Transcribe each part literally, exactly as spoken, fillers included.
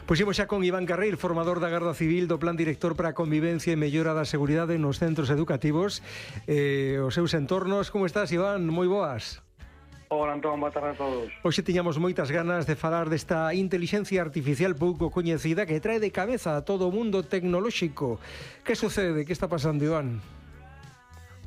Pois imos xa con Iván Carril, formador da Garda Civil, do Plan Director para a Convivencia e Mellora da Seguridade nos Centros Educativos e eh, os seus entornos. Como estás, Iván? Moi boas. Hola, Antón, boa tarde a todos. Hoxe tiñamos moitas ganas de falar desta inteligencia artificial pouco coñecida que trae de cabeza a todo o mundo tecnolóxico. Que sucede? Que está pasando, Iván?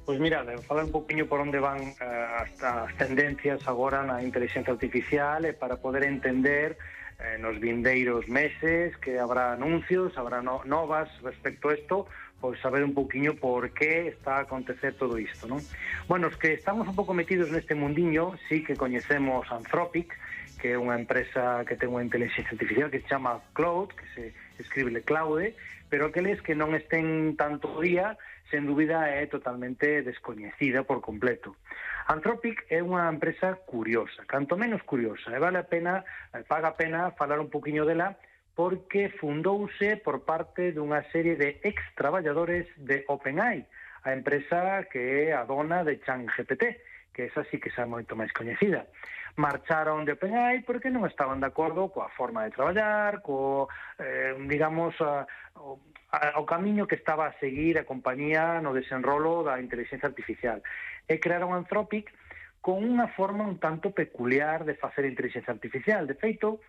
Pois mira, falar un poquinho por onde van uh, as, as tendencias agora na inteligencia artificial e para poder entender eh, nos vindeiros meses que habrá anuncios, habrá no, novas respecto a isto, pois saber un poquinho por que está a acontecer todo isto, non? Bueno, os que estamos un pouco metidos neste mundiño, sí que coñecemos Anthropic, que é unha empresa que ten unha inteligencia artificial que se chama Claude, que se escribe Claude, pero aqueles que non estén tanto día, sen dúbida é totalmente descoñecida por completo. Anthropic é unha empresa curiosa, canto menos curiosa, e vale a pena, paga a pena falar un poquinho dela, porque fundouse por parte dunha serie de ex-traballadores de OpenAI, a empresa que é a dona de ChatGPT, que esa sí que xa moito máis coñecida. Marcharon de OpenAI porque non estaban de acordo coa forma de traballar, co, eh, digamos, a, o, a, o camiño que estaba a seguir a compañía no desenrolo da inteligencia artificial. E crearon Anthropic con unha forma un tanto peculiar de facer inteligencia artificial. De feito,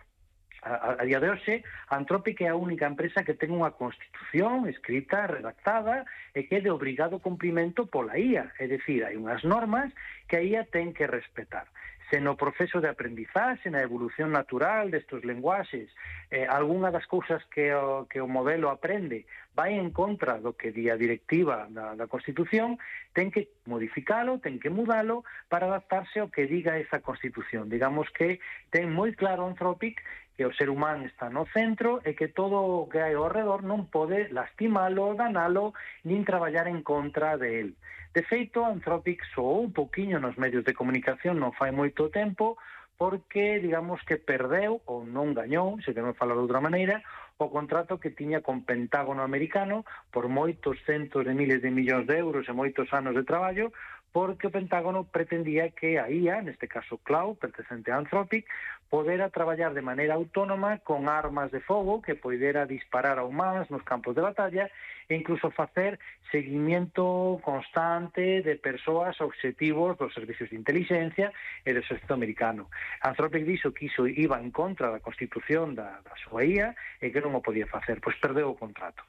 a, a día de hoxe, Anthropic é a única empresa que ten unha constitución escrita, redactada, e que é de obrigado cumprimento pola I A. É dicir, hai unhas normas que a I A ten que respetar. Se no proceso de aprendizaxe, na evolución natural destes lenguaxes, eh, algunha das cousas que o, que o modelo aprende vai en contra do que di a directiva da, da Constitución, ten que modificalo, ten que mudalo para adaptarse ao que diga esa Constitución. Digamos que ten moi claro Anthropic que o ser humano está no centro e que todo o que hai ao redor non pode lastimalo, danalo, nin traballar en contra de él. De feito, Anthropic soou un poquinho nos medios de comunicación non fai moito tempo porque, digamos, que perdeu ou non gañou, se queremos falar de outra maneira, o contrato que tiña con Pentágono americano por moitos centos de miles de millóns de euros e moitos anos de traballo, porque o Pentágono pretendía que a I A, neste caso Claude, pertencente a Anthropic, podera traballar de maneira autónoma con armas de fogo que poidera disparar a humanos nos campos de batalla e incluso facer seguimiento constante de persoas obxectivos dos servicios de inteligencia e do exército americano. Anthropic dixo que iso iba en contra da Constitución da, da súa I A e que non o podía facer, pois perdeu o contrato.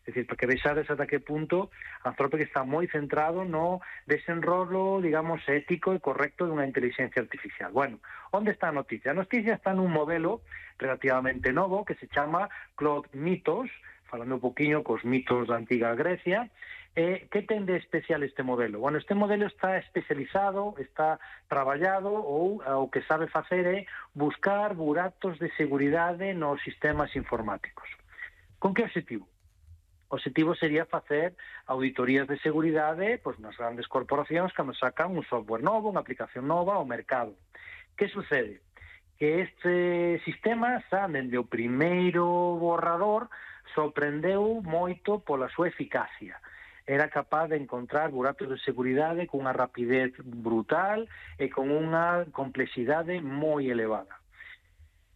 É dicir, para que vexades ata que punto Anthropic está moi centrado no desenrolo, digamos, ético e correcto dunha inteligencia artificial. Bueno, onde está a noticia? A noticia está nun modelo relativamente novo que se chama Claude Mythos, falando un poquinho cos mitos da antiga Grecia. Eh, que ten de especial este modelo? Bueno, este modelo está especializado, está traballado ou o que sabe facer é buscar buratos de seguridade nos sistemas informáticos. Con que objetivo? O objetivo sería facer auditorías de seguridade pois, nas grandes corporacións cando sacan un software novo, unha aplicación nova ao mercado. Que sucede? Que este sistema, xa, dende o primeiro borrador, sorprendeu moito pola súa eficacia. Era capaz de encontrar buratos de seguridade con unha rapidez brutal e con unha complexidade moi elevada.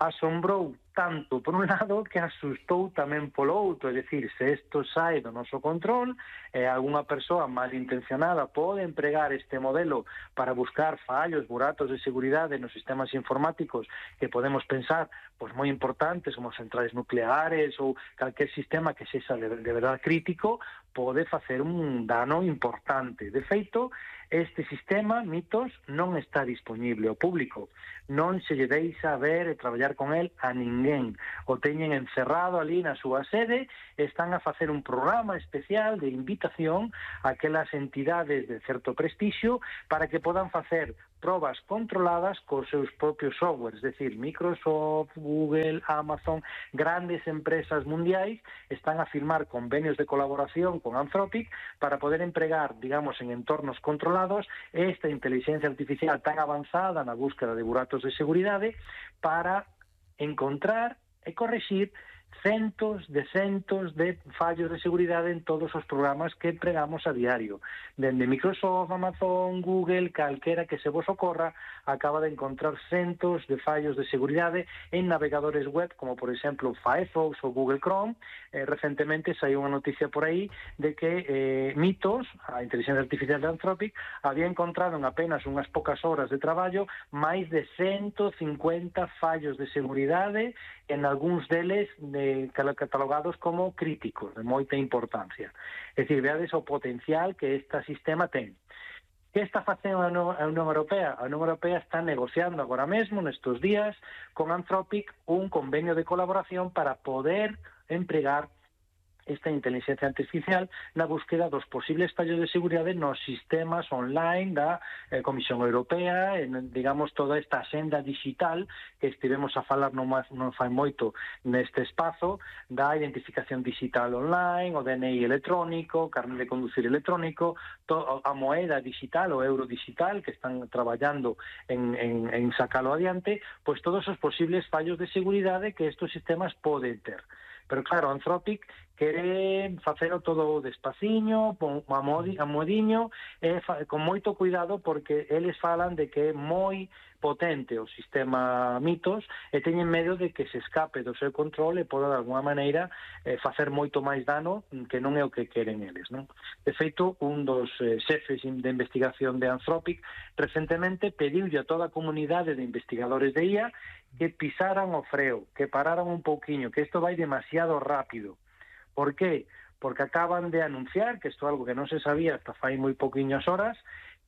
Asombrou tanto por un lado que asustou tamén polo outro, é dicir, se isto sai do noso control, e eh, algunha persoa malintencionada pode empregar este modelo para buscar fallos, buratos de seguridade nos sistemas informáticos que podemos pensar pois moi importantes como centrais nucleares ou calquer sistema que sexa de, de verdade crítico, pode facer un dano importante. De feito, este sistema, Mythos, non está disponible ao público. Non se lle deixa ver e traballar con el a ninguén. O teñen encerrado ali na súa sede e están a facer un programa especial de invitación a aquelas entidades de certo prestixio para que podan facer probas controladas cos seus propios softwares, es decir, Microsoft, Google, Amazon, grandes empresas mundiais están a firmar convenios de colaboración con Anthropic para poder empregar, digamos, en entornos controlados esta inteligencia artificial tan avanzada na búsqueda de buratos de seguridade para encontrar e correxir centos de centos de fallos de seguridade en todos os programas que empregamos a diario. Dende Microsoft, Amazon, Google, calquera que se vos ocorra, acaba de encontrar centos de fallos de seguridade en navegadores web, como por exemplo Firefox ou Google Chrome. Eh, recentemente saiu unha noticia por aí de que eh, Mitos, a inteligencia artificial de Anthropic, había encontrado en apenas unhas poucas horas de traballo máis de ciento cincuenta fallos de seguridade, en algúns deles de, catalogados como críticos, de moita importancia. É dicir, veades o potencial que este sistema ten. Que está facendo a Unión Europea? A Unión Europea está negociando agora mesmo, nestes días, con Anthropic un convenio de colaboración para poder empregar esta inteligencia artificial na búsqueda dos posibles fallos de seguridade nos sistemas online da eh, Comisión Europea, en, digamos, toda esta axenda digital que estivemos a falar non, non fai moito neste espazo, da identificación digital online, o D N I electrónico, carnet de conducir electrónico, to, a moeda digital, o euro digital, que están traballando en, en, en sacalo adiante, pois todos os posibles fallos de seguridade que estes sistemas poden ter. Pero claro, Anthropic quere facelo todo despaciño, a modiño, e con moito cuidado, porque eles falan de que é moi potente o sistema Mitos e teñen medo de que se escape do seu control e poda de alguma maneira eh, facer moito máis dano que non é o que queren eles, non? De feito, un dos eh, xefes de investigación de Anthropic recentemente pediulle a toda a comunidade de investigadores de I A que pisaran o freo, que pararan un pouquiño, que isto vai demasiado rápido. Por qué? Porque acaban de anunciar, que isto é algo que non se sabía hasta fai moi pouquiñas horas,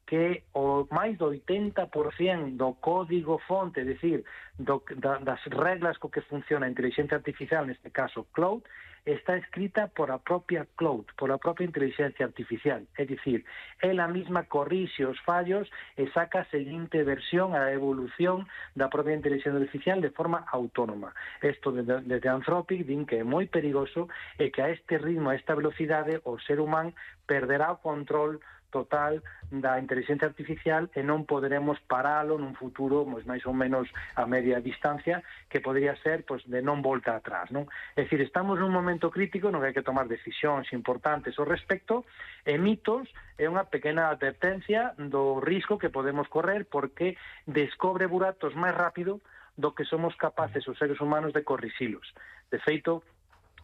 que o máis do oitenta por cento do código fonte, é dicir, do, da, das reglas co que funciona a inteligencia artificial, neste caso Cloud, está escrita por a propia Cloud, por a propia inteligencia artificial. É dicir, ela mesma corrixe os fallos e saca a seguinte versión, a evolución da propia inteligencia artificial de forma autónoma. Isto desde, desde Anthropic din que é moi perigoso e que a este ritmo, a esta velocidade, o ser humano perderá o control total da inteligencia artificial e non poderemos paralo nun futuro pois, máis ou menos a media distancia, que podría ser pois, de non volta atrás, non? É dicir, estamos nun momento crítico no que hai que tomar decisións importantes ao respecto, e Mitos é unha pequena advertencia do risco que podemos correr, porque descobre buratos máis rápido do que somos capaces os seres humanos de corrixilos. De feito,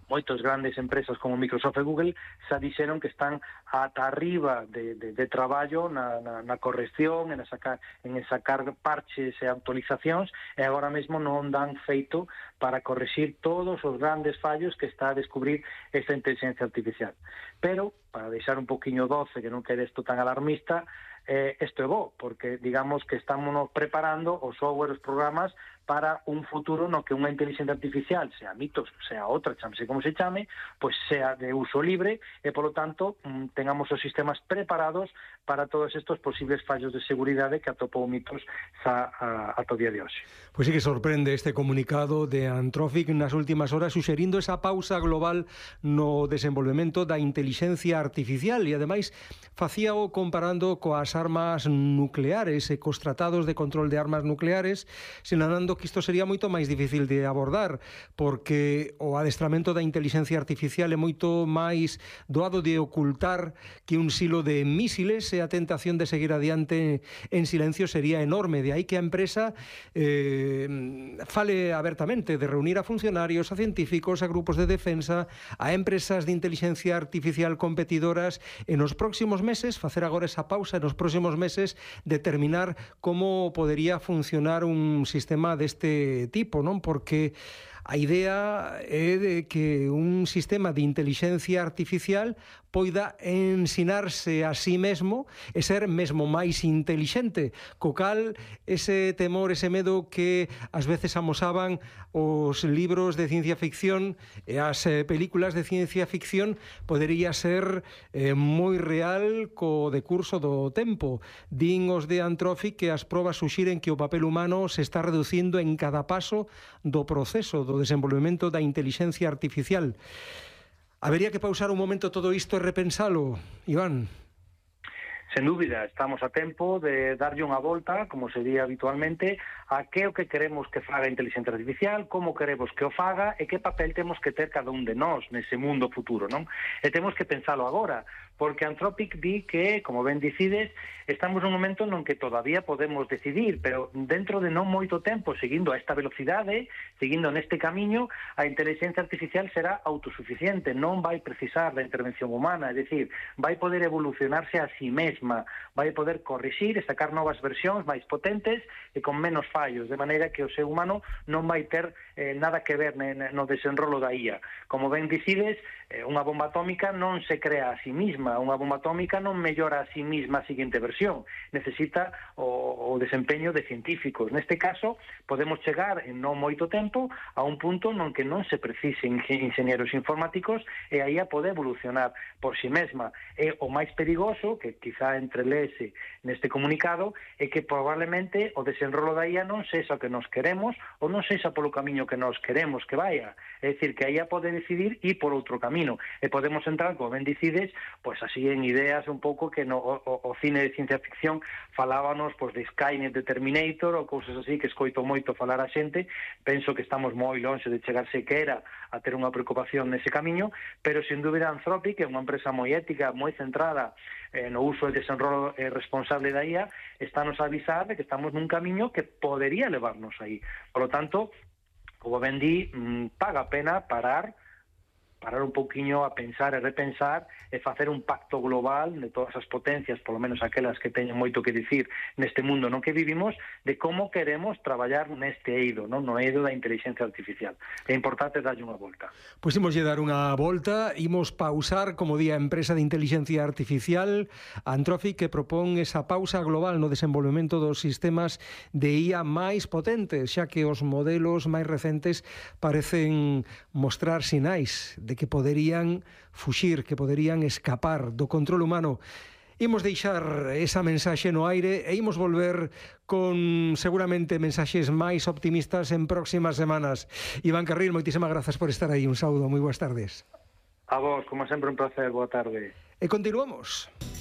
moitas grandes empresas como Microsoft e Google xa dixeron que están ata arriba de, de, de traballo na, na, na corrección, en sacar, en sacar parches e actualizacións, e agora mesmo non dan feito para correxir todos os grandes fallos que está a descubrir esta inteligencia artificial. Pero, para deixar un poquinho doce, que non quede isto tan alarmista, eh, isto é bo, porque digamos que estamos preparando os software, os programas, para un futuro no que unha inteligencia artificial, sea Mitos, sea outra, chamase como se chame, pois sea de uso libre e, polo tanto, tengamos os sistemas preparados para todos estes posibles fallos de seguridade que atopou Mitos xa ata o día de hoxe. Pois sí que sorprende este comunicado de Anthropic nas últimas horas, suxerindo esa pausa global no desenvolvemento da inteligencia artificial e, ademais, facíao comparando coas armas nucleares e cos tratados de control de armas nucleares, sinalando que isto sería moito máis difícil de abordar, porque o adestramento da inteligencia artificial é moito máis doado de ocultar que un silo de mísiles, e a tentación de seguir adiante en silencio sería enorme. De aí que a empresa eh, fale abertamente de reunir a funcionarios, a científicos, a grupos de defensa, a empresas de inteligencia artificial competidoras, e nos próximos meses, facer agora esa pausa, e nos próximos meses determinar como podería funcionar un sistema deste tipo, non? Porque a idea é de que un sistema de inteligencia artificial poida ensinarse a sí mesmo e ser mesmo máis intelixente, co cal ese temor, ese medo que ás veces amosaban os libros de ciencia ficción e as eh, películas de ciencia ficción podería ser eh, moi real co decurso do tempo. Din os de Anthropic que as probas suxiren que o papel humano se está reducindo en cada paso do proceso do desenvolvemento da inteligencia artificial. Habería que pausar un momento todo isto e repensalo, Iván? Sen dúbida, estamos a tempo de darlle unha volta, como se di habitualmente, a que o que queremos que faga a inteligencia artificial, como queremos que o faga e que papel temos que ter cada un de nós nese mundo futuro, non? E temos que pensalo agora, porque Anthropic di que, como ben dicides, estamos nun momento non que todavía podemos decidir, pero dentro de non moito tempo, seguindo a esta velocidade, seguindo neste camiño, a inteligencia artificial será autosuficiente, non vai precisar da intervención humana, é dicir, vai poder evolucionarse a si mesma, vai poder corrixir e sacar novas versións máis potentes e con menos fallos, de maneira que o ser humano non vai ter eh, nada que ver no desenrolo da I A. Como ben dicides, eh, unha bomba atómica non se crea a si misma, unha bomba atómica non mellora a si misma a seguinte versión, necesita o, o desempeño de científicos. Neste caso, podemos chegar en non moito tempo a un punto non que non se precisen ingenieros informáticos e a I A pode evolucionar por si mesma. E o máis perigoso, que quizá entrelese neste comunicado, é que probablemente o desenrolo da I A non sexa o que nos queremos ou non sexa polo camiño que nos queremos que vaya. É dicir, que a I A pode decidir ir por outro camino e podemos entrar, como ben dicides, pois así en ideas un pouco que no, o, o cine de ciencia ficción falábanos pois, de Skynet, de Terminator ou cousas así que escoito moito falar a xente. Penso que estamos moi longe de chegar sequera a ter unha preocupación nese camiño, pero sin dúbida Anthropic é unha empresa moi ética, moi centrada eh, no uso e desenrolo eh, responsable da I A, estános a avisar de que estamos nun camiño que podería levarnos aí. Por lo tanto, como ben di, paga a pena parar parar un pouquiño a pensar e repensar e facer un pacto global de todas as potencias, polo menos aquelas que teñen moito que dicir neste mundo no que vivimos, de como queremos traballar neste eido, non? No eido da inteligencia artificial. É importante darlle unha volta. Pois imos lle dar unha volta, imos pausar, como di a empresa de inteligencia artificial Anthropic, que propón esa pausa global no desenvolvemento dos sistemas de I A máis potentes, xa que os modelos máis recentes parecen mostrar sinais de que poderían fuxir, que poderían escapar do control humano. Imos deixar esa mensaxe no aire e imos volver con seguramente mensaxes máis optimistas en próximas semanas. Iván Carril, moitísimas grazas por estar aí. Un saúdo, moi boas tardes. A vos, como sempre, un placer. Boa tarde. E continuamos.